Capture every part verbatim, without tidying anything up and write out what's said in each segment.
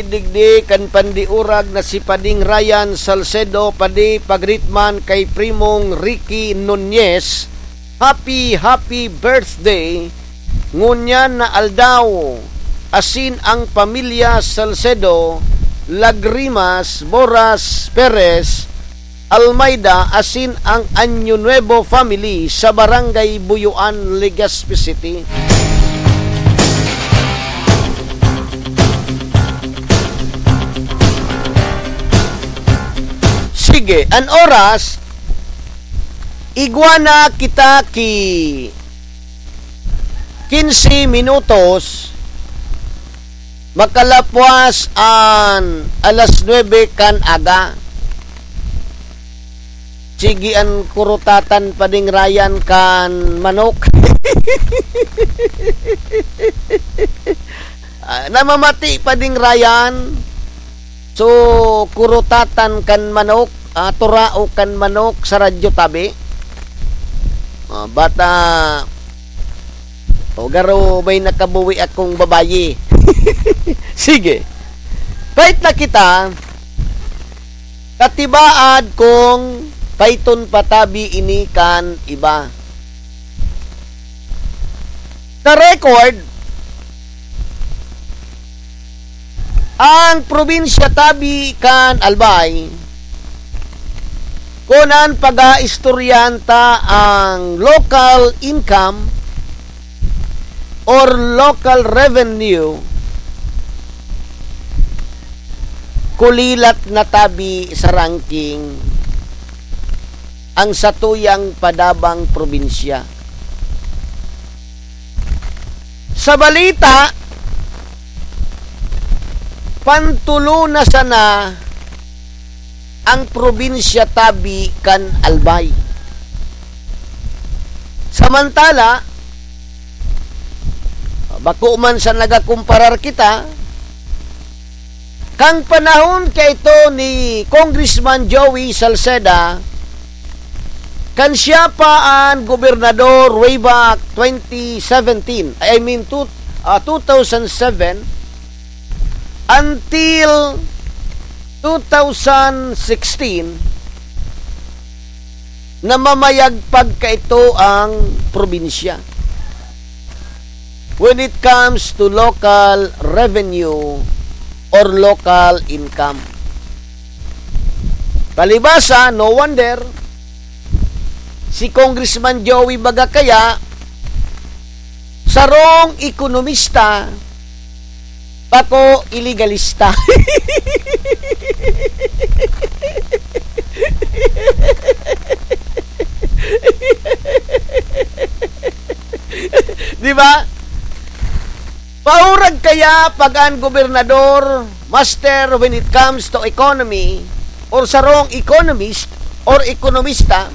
Digdi kan pandiurag na si Pading Ryan Salcedo, padi pagritman kay Primong Ricky Nunez, happy, happy birthday ngunyan na aldaw, asin ang pamilya Salcedo, Lagrimas, Boras, Perez, Almeida asin ang Año Nuevo family sa Barangay Buyuan, Legazpi City. Sige, an oras, igwa na kita ki quince minutos, makalapwas an alas nuebe kan aga. Sige, an kurutatan pa ding Ryan kan manok. Ah, namamati pa ding Ryan. So, kurutatan kan manok, ah, turao kan manok sa radyo tabi. Ah, bata, o garo may nakabuwi akong babayi. Sige. Kahit na kita, katibaad kung paiton pa tabi ini kan iba. Sa record, ang probinsya tabi kan Albay, kun an pag-aistoryahan ta ang local income or local revenue, kulilat na tabi sa ranking ang satuyang padabang probinsya. Sa balita, pantulo na sana ang probinsya tabi kan Albay. Samantala, bako man sa nagakumparar kita, kan panahon kaito ni Congressman Joey Salceda, kan siya pa an gobernador way back twenty seventeen, I mean, two, ah, two thousand seven, until two thousand sixteen, namamayagpag kaito ang probinsya when it comes to local revenue or local income. Palibasa, no wonder, si Congressman Joey baga kaya, sarong ekonomista, bako ilegalista. Di ba? Paurag kaya pag an gobernador, master when it comes to economy, or sarong economist, or ekonomista,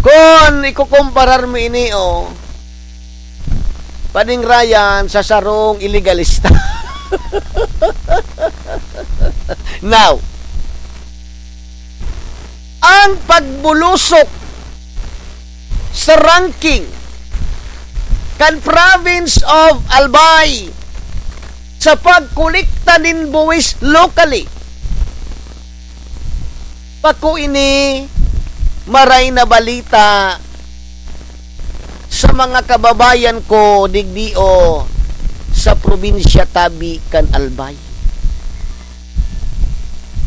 kun ikukumparar mo ini, o, pading Ryan sa sarong ilegalista. Now, ang pagbulusok sa ranking kan Province of Albay sa pagkolekta nin buwis locally, bako ini maray na balita sa mga kababayan ko digdi o sa probinsya tabi kan Albay.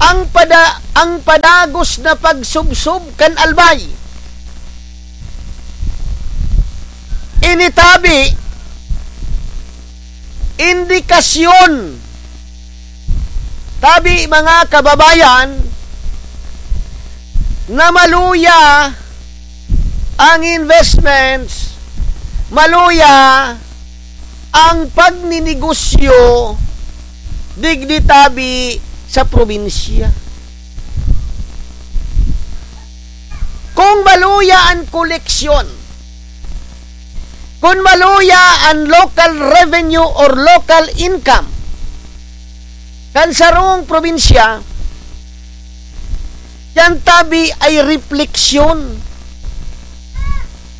Ang pada-, ang padagos na pagsubsob kan Albay. Ini tabi, indikasyon, tabi, mga kababayan, na maluya ang investments, maluya ang pagninegosyo digdi tabi sa probinsya. Kung maluya an koleksyon, kung maluya an local revenue or local income kan sarong probinsya, yan tabi ay refleksyon.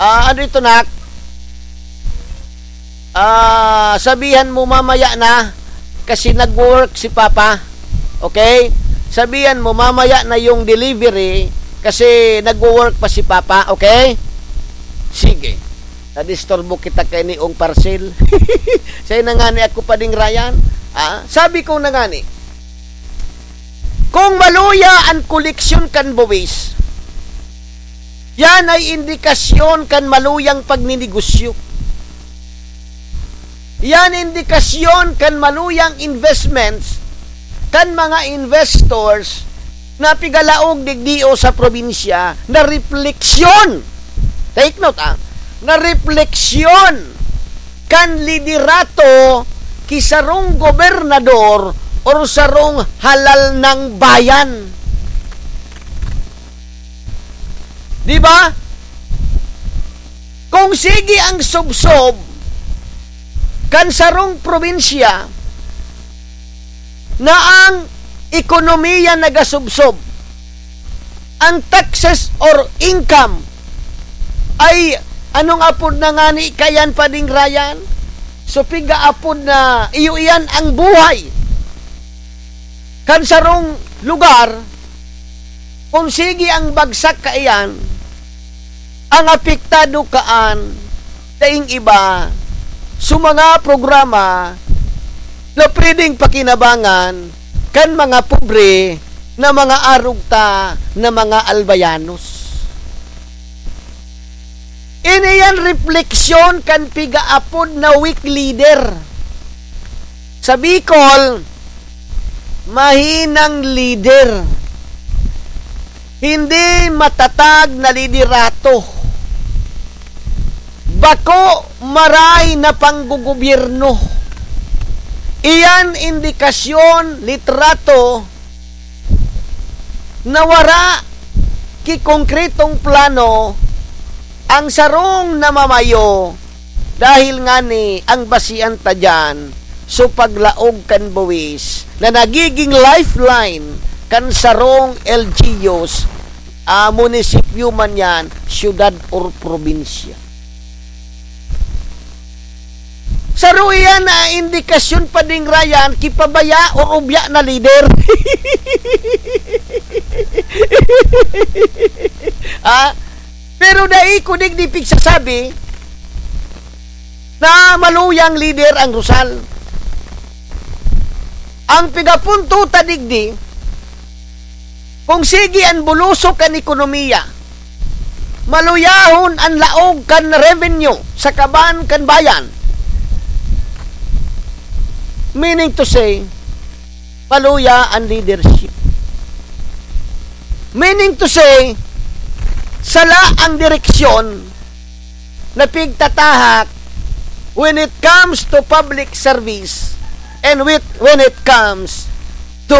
Ah, ano ito, nak? Ah, sabihan mo mamaya na. kasi nagwo-work si Papa. Okay? Sabihan mo, mamaya na yung delivery kasi nagwo-work pa si Papa. Okay? Sige. Nadisturbo kita kay niong parcel. Sa'yo na nga ni ako, Pading Ryan. Ah, sabi ko na nga ni, kung maluya an koleksyon kan buwis, yan ay indikasyon kan maluyang pagninegosyo. Yan indikasyon kan maluyang investments, kan mga investors na pigalaog digdi o sa probinsya na refleksyon. Take note, ah, na refleksyon kan liderato ki sarong gobernador or sarong halal ng bayan. Di ba? Kung sige ang subsob kan sarong probinsya na ang ekonomiya nagasubsob, ang taxes or income ay, anong apod na ngani kayan, Pading Ryan? So, piga apod na iyo iyan ang buhay kan sarong lugar, kung sige ang bagsak kaiyan, ang apektado kaan daing iba sa mga programa na pwedeng pakinabangan kan mga pobre na mga arog ta na mga albayanos. Ini yan refleksyon kan pigaapod na weak leader. Sa Bicol, mahinang leader. Hindi matatag na liderato. Bako maray na panggogobyerno. Iyan indikasyon, litrato, na wara ki konkretong plano ang sarong namamayo, dahil ngani ang basian ta diyan so paglaog kan buwis na nagiging lifeline kan sarong L G Us, ah, munisipyo man yan, syudad or probinsya. Saro iyan na indikasyon, Pading Ryan, ki pabaya o ubya na lider. Ah, pero dai ko digdi pigsasabi na maluyang lider ang Rosal. Ang pigapunto ta digdi, kung sige an bulusok kan ekonomiya, maluyahon an laog kan revenue sa kaban kan bayan. Meaning to say, maluya an leadership. Meaning to say, sala ang direksyon na pigtatahak when it comes to public service and with, when it comes to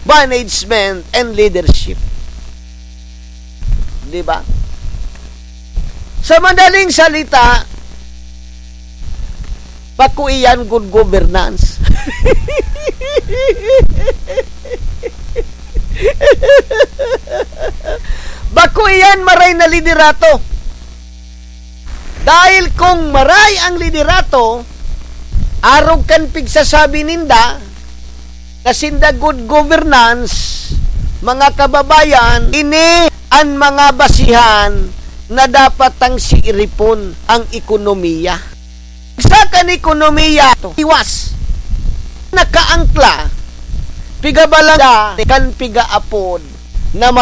management and leadership. Di ba? Sa madaling salita, bako iyan good governance. Bako iyan maray na liderato. Dahil kung maray ang liderato, arog kan pigsasabi ninda na sinda good governance, mga kababayan, ini an mga basihan na dapat tang siiripon ang ekonomiya. Sa kan ekonomiya, iwas. Nakaangkla, pigabalangga, kan pigaapod, na